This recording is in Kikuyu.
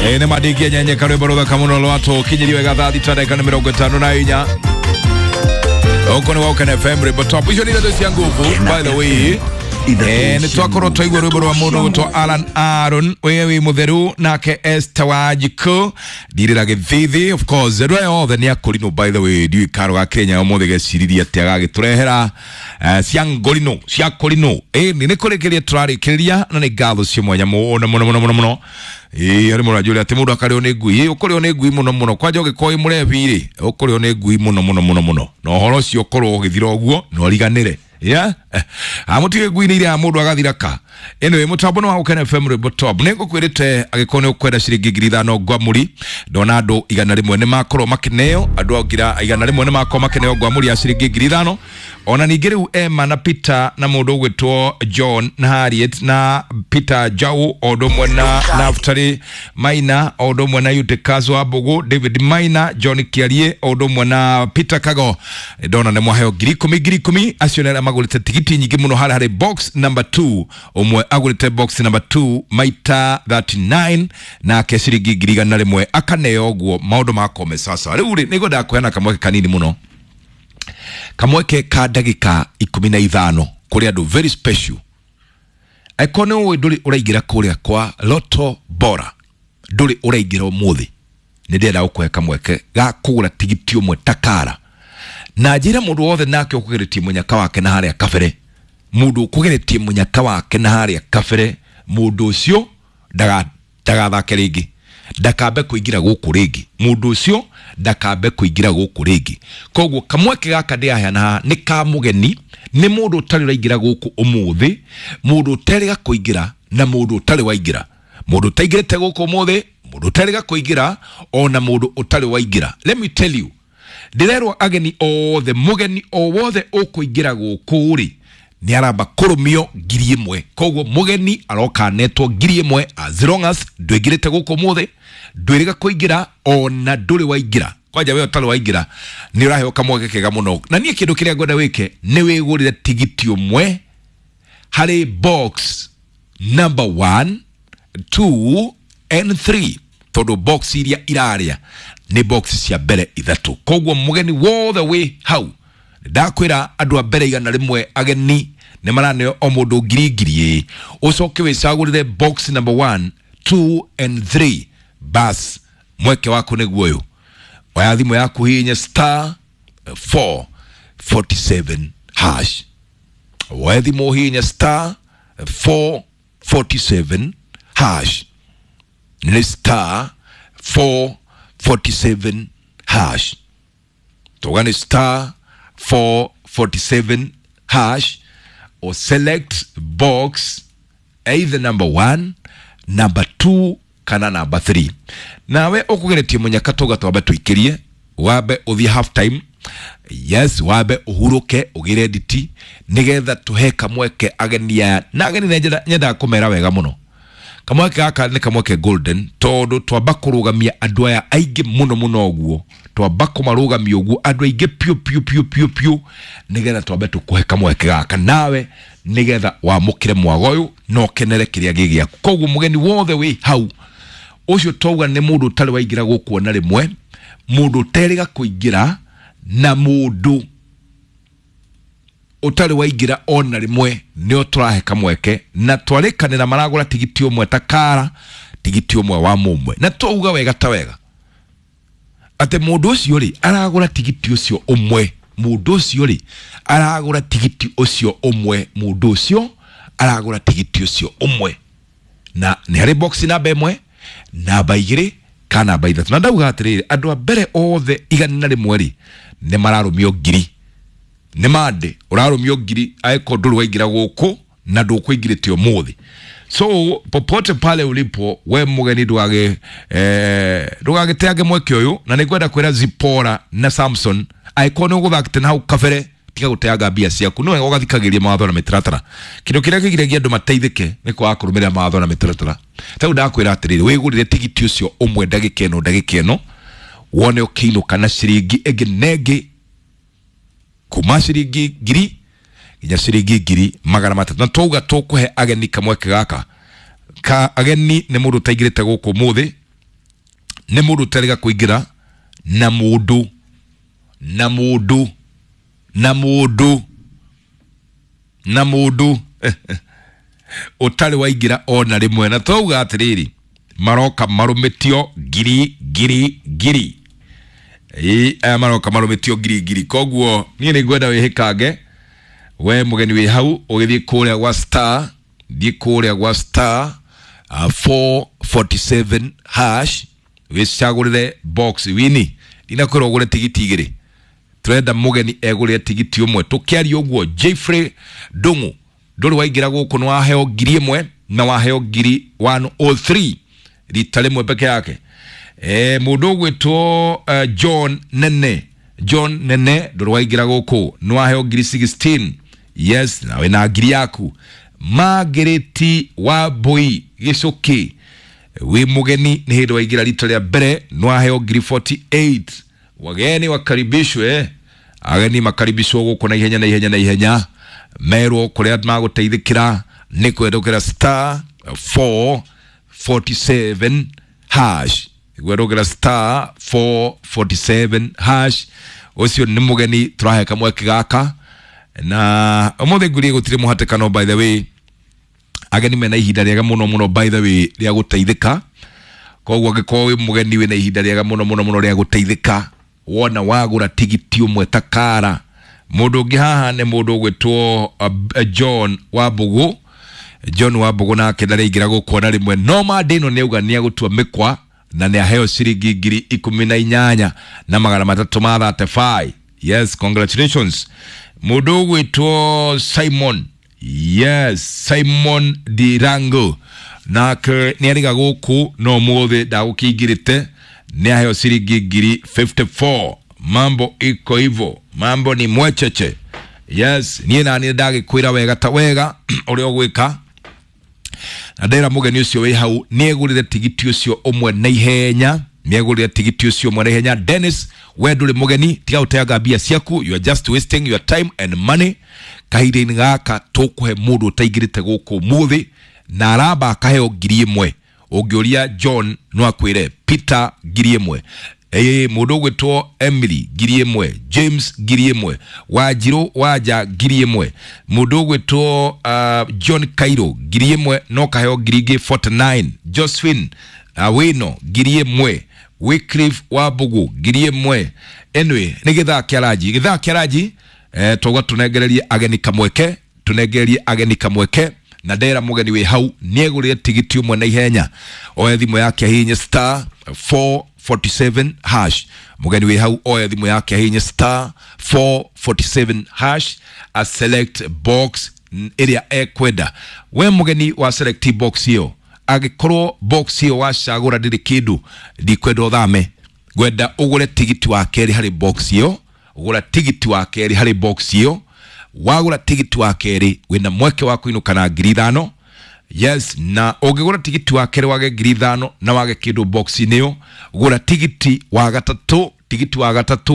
Nĩ mandĩkia nyenye karwĩmbo rũthaka mũno rwatũkinyĩrio wega thaa thita ndagĩka nĩ 54. Huko nĩ Woken FM rwĩmbo top. Icio nĩ ithatũ cia nguvu, by the way. Nĩ twakorwo twaigua rwĩmbo rwa mũndũ gwĩtwo Alan Aaron wĩ wĩ mũtheru, nake Esther Wanjikũ ndirĩra gĩthithi. Of course andũ aya othe nĩ akũrinũ, by the way. Ndiũĩ karo ga Kenya ũmũthĩ geciririe atĩa gagĩtũrehera cia ngũrinũ cia kũrinũ. Ĩni nĩ kũrĩkĩria tũrarĩkĩrĩria na nĩ ngatho cia mwanya mũno mũno mũno mũno mũno. Ĩĩ, arĩ mũranjũria atĩ mũndũ akarĩo nĩ ngui. Ĩĩ, ũkũrĩo nĩ ngui mũno mũno, kwanja ũngĩkorwo wĩ mũrebi rĩ, ũkũrĩo nĩ ngui mũno mũno mũno mũno, na ũhoro ũcio ũkorwo ũgĩthira ũguo na ũriganĩre. Yeah, amũtige ngui nĩ iria mũndũ agathira ka. Anyway, mũtambo nĩ wa Gũkena FM rwĩmbo top. Nĩ ngũkwĩrĩte angĩkorwo nĩ ũkwenda ciringi 5,000 ngwamũri, ndona andũ 100 nĩ makorwo makĩneo, andũ 100 nĩ makorwo makĩneo ngwamũri ya ciringi 5,000. Ona ningĩ rĩu Emma na Peter na mũndũ ũgwĩtwo John na Harriet na Peter Jau, o ũndũ ũmwe na Naftali Maina, o ũndũ ũmwe na Eutychus wa Mbũgũ, David Maina, John Kiarie, o ũndũ ũmwe na Peter Kago, ndona nĩ mwaheo 10,000 10,000. Acio nĩ arĩa magũrĩte tigiti nyingĩ mũno harĩa harĩ box number 2. Ũmwe agũrĩte box number 2 maita 39, nake ciringi 100,000 akaneo. Ũguo maũndũ makome. Sasa rĩu rĩ, nĩngwendaga kũheana kamweke kanini mũno, kamweke ka ndagĩka 15 kũrĩ andũ very special. Angĩkorwo nĩ ũĩ ndũrĩ ũraingĩra kũrĩa kwa Lotto Bora, ndũrĩ ũraingĩra ũmũthĩ, nĩ ndĩrenda gũkũhe kamweke ga kũgũra tigiti ũmwe takara na njĩra mũndũ wothe nake ũkũgeretie mũnyaka wake na harĩa kabere. Mũndũ ũkũgeretie mũnyaka wake na harĩa kabere, mũndũ ũcio ndagathake rĩngĩ, ndakambe kũingĩra gũkũ rĩngĩ. Mũndũ ũcio ndakambe kũingĩra gũkũ rĩngĩ. Koguo kamweke gaka ndĩraheana haha nĩ ka mũgeni, nĩ mũndũ ũtarĩ ũraingĩra gũkũ ũmũthĩ, mũndũ ũterĩga kũingĩra na mũndũ ũtarĩ waingĩra, mũndũ ũtaingĩrĩte gũkũ ũmũthĩ, mũndũ ũterĩga kũingĩra, ona mũndũ ũtarĩ waingĩra. Let me tell you, ndĩrerwo ageni othe, mũgeni o wothe ũkũingĩra gũkũ rĩ, nĩ aramba kũrũmio 1,000. Koguo mũgeni aroka anetwo 1,000, as long as ndũingĩrĩte gũkũ ũmũthĩ, ndwĩrĩga kũingĩra, ona ndũrĩ waingĩra. Kwanja we ũtarĩ waingĩra nĩ ũraheo kamweke kega mũno. Na niĩ kĩndũ kĩrĩa ngwenda wĩke nĩ wĩgũrĩre tigiti ũmwe harĩ box number 1, 2 and 3, tondũ box iria irarĩa nĩ box cia mbere ithatũ. Koguo mũgeni wothe wĩ hau, ndakwĩra andũ a mbere 100 ageni nĩ maraneo o mũndũ ngiri ngiri. Ĩ ũcoke wĩcagũrĩre box number 1, 2 and 3. Bas, mweke waku nĩguo ũyũ. Oya thimũ yaku, hihinya star 447 hash. Woe thimũ, hihinya star 447 hash. Nĩ star 447 hash. Tuga nĩ star 447 hash, or select box either number 1, number 2 kana number 3. Nawe ũkũgeretie mũnyaka, tuga twambe tũikĩrie, wambe ũthiĩ half time. Yes, wambe ũhurũke, ũgĩre nditi nĩgetha tũhe kamweke ageni aya. Na ageni nyendaga kũmera wega mũno, kamweke gaka nĩ kamweke golden, tondũ twamba kũrũgamia andũ aya aingĩ mũno mũno. Ũguo twamba kũmarũgamia ũguo andũ aingĩ piũ piũ piũ piũ piũ, nĩgetha twambe tũkũhe kamweke gaka nawe, nĩgetha wamũkĩre mwago ũyũ na ũkenere kĩrĩa gĩ gĩaku. Koguo mũgeni wothe wĩ hau ũcio, twauga nĩ mũndũ ũtarĩ waingĩra gũkũ ona rĩmwe, mũndũ ũterĩga kũingĩra na mũndũ ũtarĩ waingĩra ona rĩmwe, nĩo tũrahe kamweke. Na twarĩkanĩra maragũra tigiti ũmwe ta kara, tigiti ũmwe wa mũmwe. Na twauga wega ta wega atĩ mũndũ ũcio rĩ aragũra tigiti ũcio ũmwe, mũndũ ũcio rĩ aragũra tigiti ũcio ũmwe, mũndũ ũcio aragũra tigiti ũcio ũmwe, na nĩ harĩ box namba 1, namba 2 kana namba 3. Na ndauga atĩrĩrĩ, andũ a mbere othe 100 rĩ, nĩ mararũmio ngiri. Nĩ mande ũrarũmio ngiri angĩkorwo ndũrĩ waingĩra gũkũ na ndũkũingĩrĩte ũmũthĩ. So popote pale ulipo, we mũgeni, ndũgage ndũgagĩteange mweke ũyũ. Na nĩngwenda kwĩra Zipora na Samson, angĩkorwo nĩ ũgũthakĩte na hau kabere, tiga gũteanga mbia ciaku. No wega ũgathikagĩria mawatho na mĩtaratara. Kĩndũ kĩrĩa kĩgiragia andũ mateithĩke nĩ kwaga kũrũmĩrĩra mawatho na mĩtaratara. Ta rĩu ndakwĩra atĩrĩrĩ, wĩgũrĩre tigiti ũcio ũmwe ndagĩka ĩno, ndagĩka ĩno wone ũkĩinũka na ciringi ĩngĩ na ĩngĩ, kuma ciringi 1,000 nginya ciringi 300,000. Na twauga tũkũhe ageni kamweke gaka ka ageni nĩ mũndũ ũtaingĩrĩte gũkũ ũmũthĩ. Nĩ mũndũ ũtarega kũingĩra na mũndũ na mũndũ na mũndũ na mũndũ ũtarĩ waingĩra ona rĩmwe. Na twauga atĩrĩrĩ, maroka marũmĩtio ngiri ngiri ngiri. Ĩĩ, aya maroka marũmĩtio ngiri ngiri. Koguo niĩ nĩ ngwenda wĩhĩkange we mũgeni wĩ hau, ũgĩthiĩ kũrĩa gwa star, thiĩ kũrĩa gwa star 447 hash, wĩcagũrĩre box wini. Ndinakwĩra ũgũre tigiti igĩrĩ, turenda mũgeni egũrĩre tigiti ũmwe. Tũkĩaria ũguo, Jeffrey Ndung'u ndũrĩ waingĩra gũkũ, nĩ waheo 1000 na waheo ngiri 103 rita rĩmwe peke yake. Mũndũ ũgwĩtwo John Nene, John Nene ndũrĩ waingĩra gũkũ, nĩ waheo ngiri 16. Yes, na wĩna ngiri yaku. Margaret Wambui Gĩcũkĩ, wĩ mũgeni, nĩ hĩndĩ waingĩra rita rĩa mbere, nĩ waheo ngiri 48. Wageni wakaribishwe, ageni makaribishwo gũkũ na ihenya na ihenya na ihenya, merwo kũrĩa magũteithĩkĩra nĩ kwendũkĩra star 447 hash, gwendũkĩra star 447 hash. Ũcio nĩ mũgeni tũrahe kamweke gaka na ũmũthĩ ngwĩrie gũtirĩ mũhatĩkano. By the way, ageni mena ihinda rĩega mũno mũno, by the way, rĩa gũteithĩka. Koguo angĩkorwo wĩ mũgeni, wĩna ihinda rĩega mũno mũno mũno rĩa gũteithĩka wona wagũra tigiti ũmwe ta kara. Mũndũ ũngĩ haha nĩ mũndũ ũgwĩtwo John Wambũgũ. John Wambũgũ nake ndarĩingĩra gũkũ ona rĩmwe, no mandĩ ĩno nĩ auga nĩ agũtua mĩkwa na nĩ aheo ciringi 18,335. Yes, congratulations. Mũndũ ũgwĩtwo Simon, yes, Simon Dirango nake nĩ arĩga gũkũ no mũthĩ ndagũkĩingĩrĩte, nĩ aheo ciringi ngiri 54. Mambo iko hivyo, mambo ni mwecheche. Yes, niĩ naniĩ ndagĩkwĩra wega ta wega ũrĩa ũgwĩka, na ndera mũgeni ũcio wĩ hau nĩ egũrĩre tigiti ũcio ũmwe na ihenya, nĩ egũrĩre tigiti ũcio ũmwe na ihenya. Dennis, we ndũrĩ mũgeni, tiga gũteanga mbia ciaku, you are just wasting your time and money. Kahinda-inĩ gaka tũkũhe mũndũ ũtaingĩrĩte gũkũ ũmũthĩ na aramba akaheo 1000. Ũngĩũria John no akwĩre, Peter 1000, ĩĩ, mũndũ ũgwĩtwo Emily 1000, James 1000, Wanjirũ Wanja 1000, mũndũ ũgwĩtwo John Cairo 1000 no kaheo ngiri ingĩ 49, Josephine Awino 1000, Wycliffe Wambugu 1000. Anyway, nĩ gĩthaa kĩa ranji, gĩthaa kĩa ranji, twauga tũnengererie ageni kamweke, tũnengererie ageni kamweke. Na ndera mũgeni wĩ hau nĩ egũrĩre tigiti ũmwe na ihenya, oe thimũ yake ahihinye star 447 hash. Mũgeni wĩ hau oe thimũ yake ahihinye star 447 hash, a select box ĩrĩa ekwenda. We mũgeni wa select box ĩyo, angĩkorwo box ĩyo wacagũra ndĩrĩ kĩndũ, ndikwenda ũthame, ngwenda ũgũre tigiti wa kerĩ harĩ box ĩyo. Gũra tigiti wa kerĩ harĩ box ĩyo. Wagũra tigiti wa kerĩ, wĩna mweke wa kũinũka na 5,000. Yes, na ũngĩgũra tigiti wa kerĩ wage 5,000 na wage kĩndũ box-inĩ ĩyo, gũra tigiti wa gatatũ, tigiti wa gatatũ.